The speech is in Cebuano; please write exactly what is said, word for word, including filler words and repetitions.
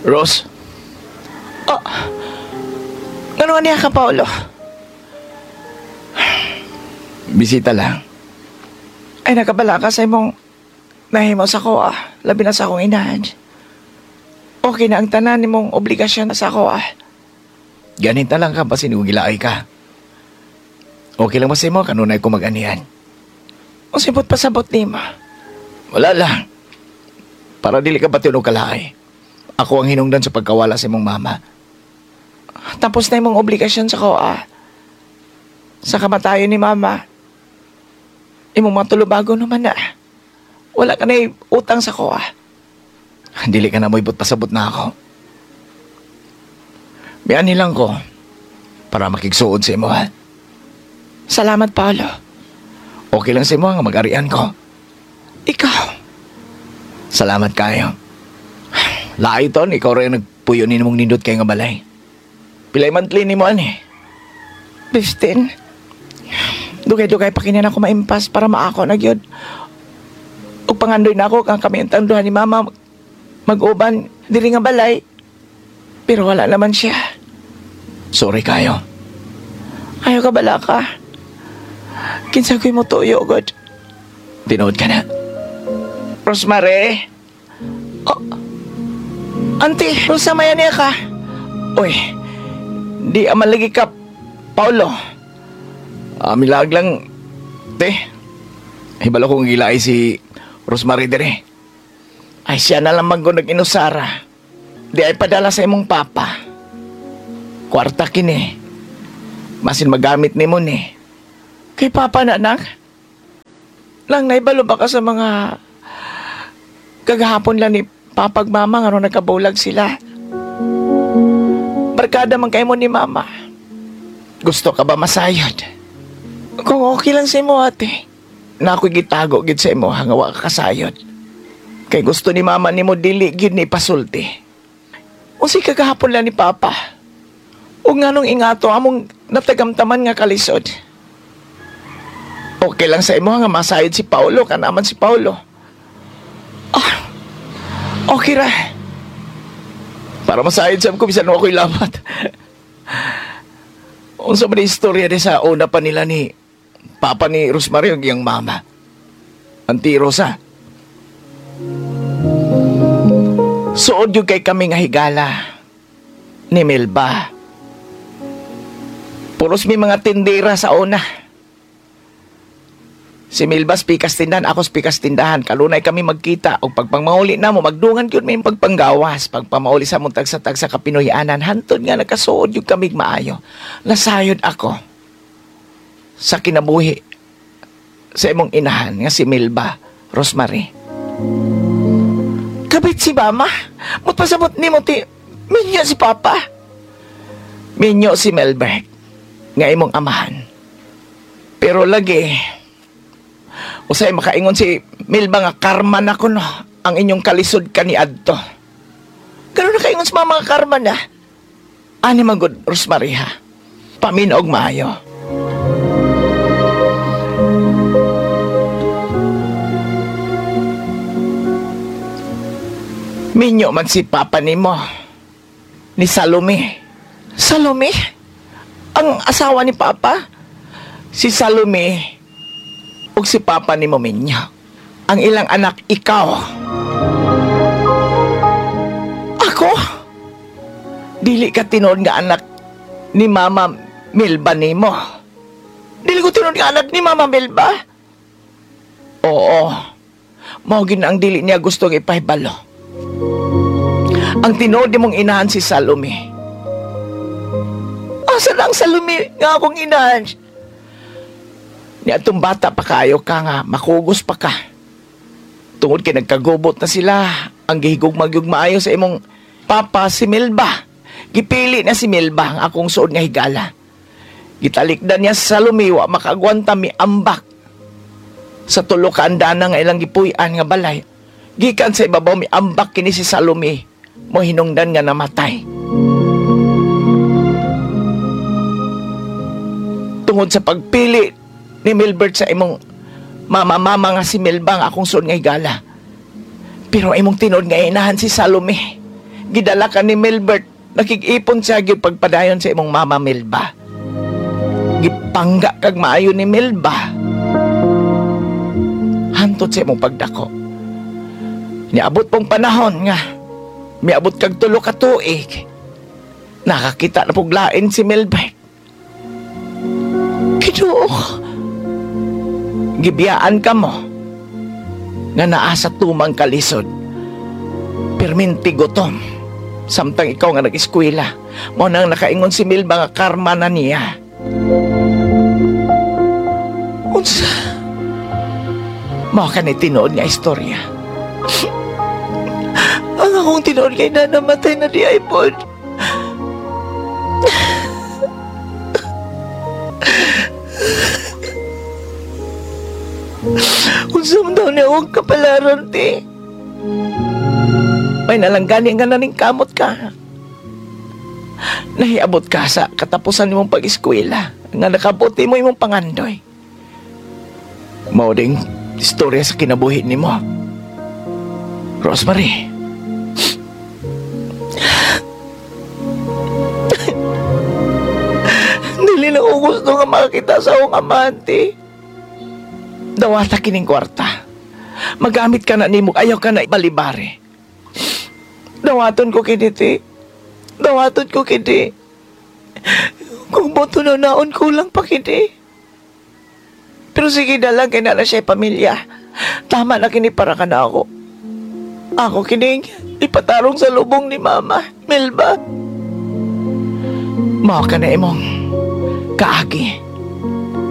Rose, Oh, ngano nga niya ka, Paolo? Bisita lang. Ay, nakabala ka sa imong nahimo sa ko, ah. Labi na sa akong inahan. Okay na ang tanan nimong obligasyon sa ako, ah. Ganita lang ka, basin kung gilaay ka. Okay lang ba sa imo, kanunay ko mag-anihan. Usipot pasabot nimo. Wala lang. Para dili ka pati og kalaay. Ako ang hinungdan sa pagkawala sa imong mama. Tapos na imong obligasyon sa ko, ah. Sa kamatayon ni mama. Imong mga tulubago naman na. Wala ka na utang sa ko, ah. Dili ka na mo'y pasabot na ako. Miani lang ko para makigsuod sa imo, ha? Salamat, Paolo. Okay lang sa imo nga mag-arian ko. Ikaw. Salamat kayo. Laay ton, ikaw rin nagpuyo ni mong nindot kay nga balay. Pilay monthly ni mo ani. fifteen. Dugay-dugay pa kini na ako maimpas para maako na gyud. Ug pangandoy na ako kang kami ang tanduhan ni mama mag-uban diri nga balay. Pero wala naman siya. Sorry kayo. Ayaw ka bala ka. Kinsa ko'y mo tuyo, God. Tinuod ka na. Rosemary. Oh. Auntie, Rosa, maya niya ka. Uy, di aman lagi ka, Paolo. Ah, milag lang, te. Hibalo kong gilaay si Rosemary dire. Ay, siya na lang man nag-inusara. Di ay padala sa imong papa. Kwarta kini. Masin magamit nimo ni. Kay papa na, anak. Lang naibalo ba ka sa mga kagahapon lang ni papag mama nga nung nagkabulag sila. Barkada man kayo mo ni mama. Gusto ka ba masayod? Kung okay lang sa imo, ate. Na ako'y gitago gid sa imo hanga wa ka kasayod. Kay gusto ni mama nimo dili gid ni pasulti. Unsay kagahapon lang ni papa. O nga nung ingato among natagamtaman nga kalisod. Okay lang sa imo nga masayod si Paolo kanaman si Paolo. Ah, okay ra. Para masayod sa ko bisan ako'y lamat. Unsa man ni istorya di sa una pa nila ni papa ni Rosemary ug iyang mama. Auntie Rosa. Suod yung kay kami nga higala ni Melba. Puros may mga tindera sa una. Si Melba pikas tindahan, ako pikas tindahan. Kalunay kami magkita. O pagpangmauli na mo, magdungan yun may pagpanggawas. Pagpamauli sa mong tagsa-tagsa kapinoyanan, hantod nga nakasuod yung kamig maayo. Nasayod ako sa kinabuhi sa imong inahan nga si Melba Rosemary. Kabit si mama. Mutpasabot ni mo ti minyo si papa. Minyo si Melbert nga imong amahan. Pero lagi, usay makaingon si Melba nga karma na kuno ang inyong kalisod kaniadto. Ganun na kaingon sa mama nga karma na. Ani man gud Rosemary ha. Paminaw og maayo. Minyo man si papa nimo ni Salome. Salome? Ang asawa ni papa? Si Salome ug si papa nimo minyo. Ang ilang anak ikaw. Ako? Dili ka tinuod nga anak ni Mama Melba nimo. Dili ko tinuod nga anak ni Mama Melba? Oo. Mao gid na ang dili niya gustong ipahibalo. Ang tinuod nimong inahan si Salome. Asa na ang Salome nga akong inahan? Ni atong bata pa kayo ka nga makugos pa ka. Tungod kay nagkagubot na sila, ang gihigugmag yung maayo sa imong papa si Melba. Gipili na si Melba ang akong suod nga higala. Gitalikdan niya sa Salome wa makagwanta mi ambak. Sa tulo ka andana nga ilang gipuy-an nga balay. Gikan sa ibabaw mi ambak kini si Salome mo hinungdan nga namatay. Tungod sa pagpili ni Milbert sa imong mama-mama nga si Melba nga akong suod nga higala. Pero imong tinuod nga inahan si Salome. Gidala ka ni Milbert. Nakig-ipon siya gyud pagpadayon sa imong mama Melba. Gipangga kag maayo ni Melba. Hantod sa imong pagdako. Niabot pong panahon nga miabot kag tulo ka tuig. Nakakita na pug lain si Milbert. Ginoo. Gibiyaan ka mo nga naa sa tumang kalisod. Perminti gutom. Samtang ikaw nga nag-eskwela, mao nang nakaingon si Milba nga karma na niya. Unsa? Mao ka ni tinuod nga istorya. Ang akong tinuod kay na namatay na diay pod. Unsa man daw niya akong kapalaran, te? May nalanggani nga naning kamot ka. Nahiabot ka sa katapusan nimong pag-eskwela nga nakabuti mo imong pangandoy. Mao ding istorya sa kinabuhi nimo. Rosemary. Dili na ko gusto nga makakita sa akong amante. Dawata kining kwarta. Magamit ka na nimo, ayaw ka na ibalibare. Dawaton ko kini, te. Dawaton ko kini. Kung boto na naon, kulang pa kini. Pero sige na lang, kay na na siya pamilya. Tama na kini para ka na ako. Ako kining ipatarong sa lubong ni Mama, Melba. Mao ka na imong kaagi.